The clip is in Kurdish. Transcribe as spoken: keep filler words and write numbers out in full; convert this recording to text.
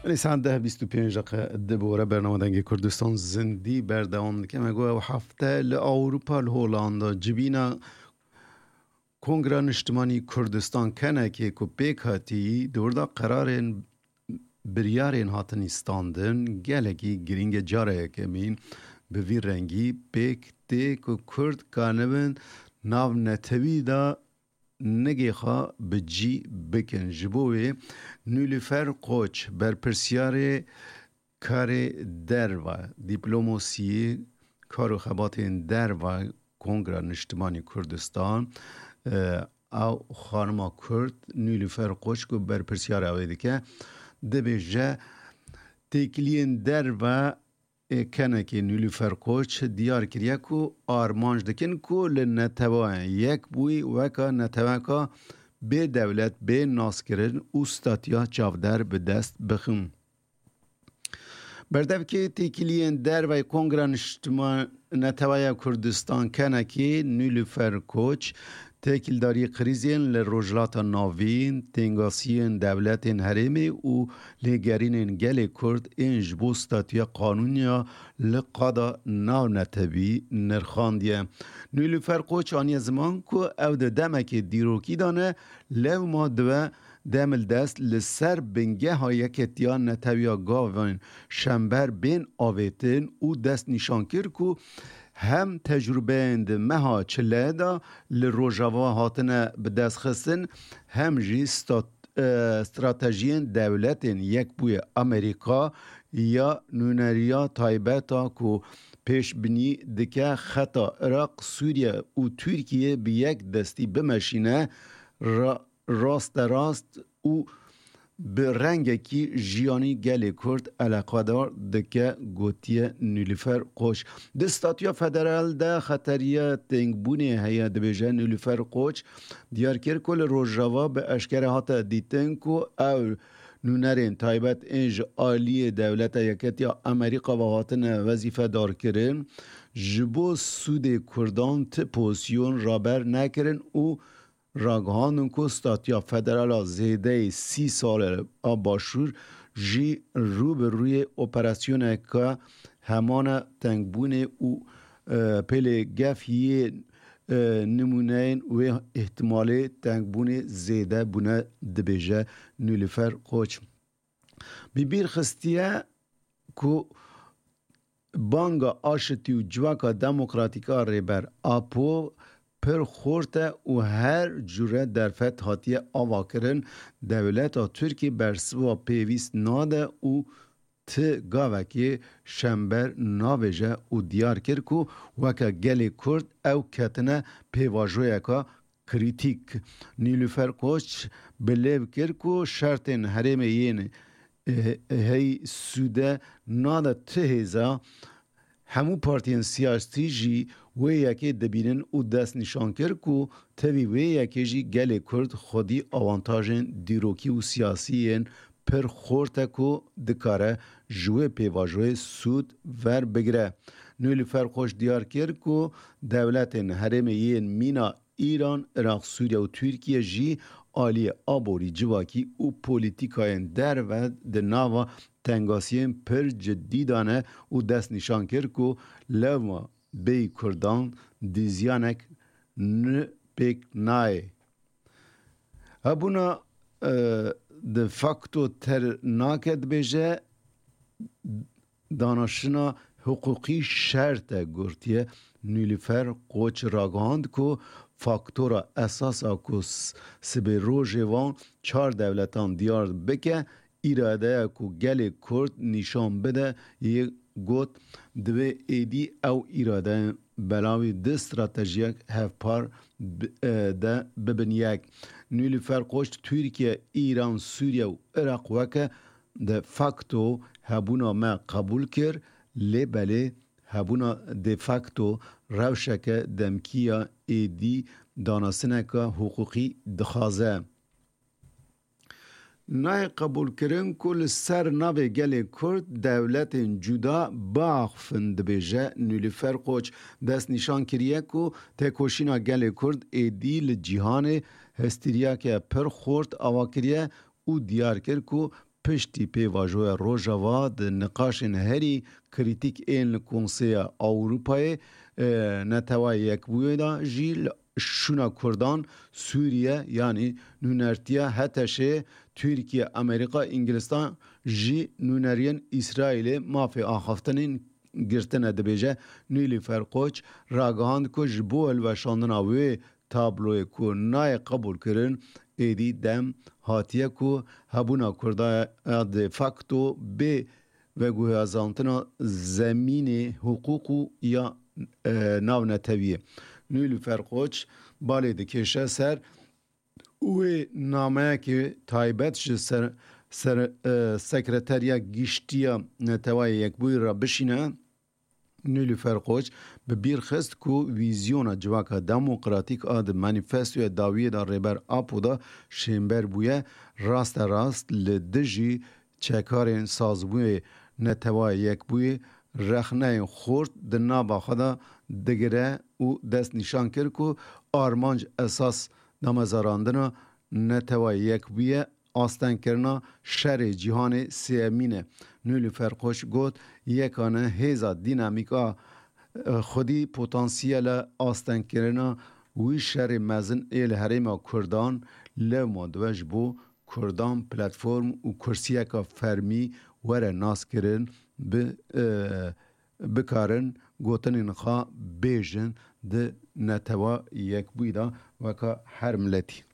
Belê, saet deh bîst û pênc deqe di bore bernama Dengê Kurdistan zindî berdewam dike. Me got ew hefte li Ewropa, li Holanda civîna Kongra Niştimanî Kurdistan, kenekê ku pêk hatî di wir de qerarên, biryarên hatin îstandin, gelekî girîng e. Cara yekemîn bi vî rengî pêk tê ku Kurd kanibin nav netewî de nigê xwe bi cî bikin. Ji bo wê Nilüfer Koç, berpirsyarê karê derve, dîplomosiyê, kar û xebatên derve Kongra Niştimanî Kurdistan, e, ew xanima Kurd Nilüfer Koç ku berpirsyara wê dike, dibêje, têkiliyên derve ê kenekê Nilüfer Koç diyar kiriye ku armanc dikin ku li Neteweyên Yekbûyî weka neteweka bê dewlet, bê naskirin û statiya çavdar bi dest bixin. Berdevkê têkiliyên derveyî Kongra Niştiman Neteweya Kurdistan, kenekê Nilüfer Koç, têkildarî krîzên li Rojhilata Navîn, têngasiyên dewletên herêmê û lêgerînên gelê Kurd ên ji bo statuya qanûniya li qada navnetewî nirxandiye. Nilüfer Koç aniye ziman ku ew di demekê dîrokî de ne, lewma dibe demildest li ser bingeha Yeketiya Netewiya Gavên Şember bên avêtin û dest nîşan kir ku hem tecrûbeyên di meha çile de li Rojava hatine bi dest xistin, hem jî stat-, e, stratejiyên Dewletên Yekbûyî Amerîka ya nûneriya taybet a ku pêşbînî dike xeta Iraq, Sûriye û Tirkiye bi yek destî bimeşîne, ra-, rasterast û bi rengekî jiyanî gelê Kurd eleqedar dike, gotiye Nilüfer Koç. Di statuya federal de xeteriya têngbûnê heye, dibêje Nilüfer Koç. Diyar kir ku li Rojava bi eşkere hate dîtin ku ew nûnerên taybet ên ji aliyê Dewleta Yeketiya Amerîka ve hatine wezîfedarkirin, ji bo sûdê Kurdan ti pozîsyon raber nekirin û ragihandin ku statuya federal a zêdeyê sî sal a Başûr jî rû bi rûyê operasyoneke hemana tengbûnê û, e, pêlê gef yê, e, nimûneyên wê îhtimalê tengbûnê zêde bûne, dibêje Nilüfer Koç. Bi bîr xistiye ku banga aşitî û civaka demokratîk a Rêber Apo pir xurt e û her cure derfet hatiye avakirin, dewleta Tirkî bersiva pêwîst nade û ti gavekê Şember navêje û diyar kir ku weke gelê Kurd ew ketine pêvajoyeka krîtîk. Nîlûfer Koç bi lêv kir ku şertên herêmê yên, eh, hey sûde nade ti hêza. Hemû partiyên siyasî jî wê yekê dibînin û dest nîşan kir ku tevî wê yekê jî gelê Kurd xwedî awantajên dîrokî û siyasî yên pir xurt e ku dikare ji wê pêvajoyê sûd verbigire. Nilûfer Koç diyar kir ku dewletên herêmê yên mîna Îran, Iraq, Sûriye û Tirkiye jî aliyê aborî, civakî û polîtîkayên derve di nava tengasiyên pir cidî de ne û dest nîşan kir ku lewma bêyî Kurdan dîziyanek ni pêk nayê. Hebûna, e, de facto ter nake, dibêje, danaşina hiqûqî şert e, gotiye Nilûfer Koç. Ragihand ku faktora esas a ku s-, sibê rojê van çar dewletan diyar bike, îradeya ku gelê Kurd nîşan bide, yê got, divê êdî ew îradeyên belavî di stratejiyek hevpar bi-, e, de bibin yek. Nilûfer Koç, Tirkiye, Îran, Sûriye û Iraq weke de facto hebûna me qebûl kir, lê belê hebûna de facto rewşeke demkî ya êdî danasineke hiqûqî dixwaze. Nayê qebûlkirin ku li ser navê gelê Kurd dewletên cuda biaxifin, dibêje Nilûfer Koç. Dest nîşan kiriye ku têkoşîna gelê Kurd êdî li cîhanê hestîriyeke pir xurt ava kiriye û diyar kir ku piştî pêvajoya Rojava di niqaşên herî krîtîk ên li Konseya Ewropayê, e, Netewayê Yekbûyî de jî li şûna Kurdan, Sûriye, yanî nûnertiya HTŞ'ê, Tirkiye, Amerîka, Îngilistan jî nûneriyên Îsraîlê mafê axaftinên girtine, dibêje. Nilüfer Koç ragihand ku ji bo hilweşandina wê tabloyê ku nayê qebûlkirin, êdî dem hatiye ku hebûna Kurda ya de facto bê veguhezantina zemînê, hiqûq û ya, e, navnetewî ye. Nilüfer Koç balê dikêşe ser wê nameyekê taybet ji ser, ser, e, Sekreteriya Giştî ya Netewayê Yekbûyî re bişîne. Nilüfer Koç bi bîr xist ku vîzyona civaka demokratîk a di manîfestoya dawiyê de Rêber Apo de şênber bûye, raste rast li dijî çekarên sazbûyê Netewayê Yekbûyî rexneyên xurt di nava xwe de digire û destnîşan kir ku armanc esas damezrandina Netewayê Yekbûyî astengkirina şerê cîhanê sêyemîn e. Nilüfer Koç got, yekane hêza dînamîk a, e, xwedî potansiyela astengkirina wî şerê mezin ê li herêma Kurdan lewma dibe ji bo Kurdan platform û kursiyeka fermî were naskirin, bi, e, bikarin gotinên xwe bêjin di Netewa Yekbûyî de weka her miletî.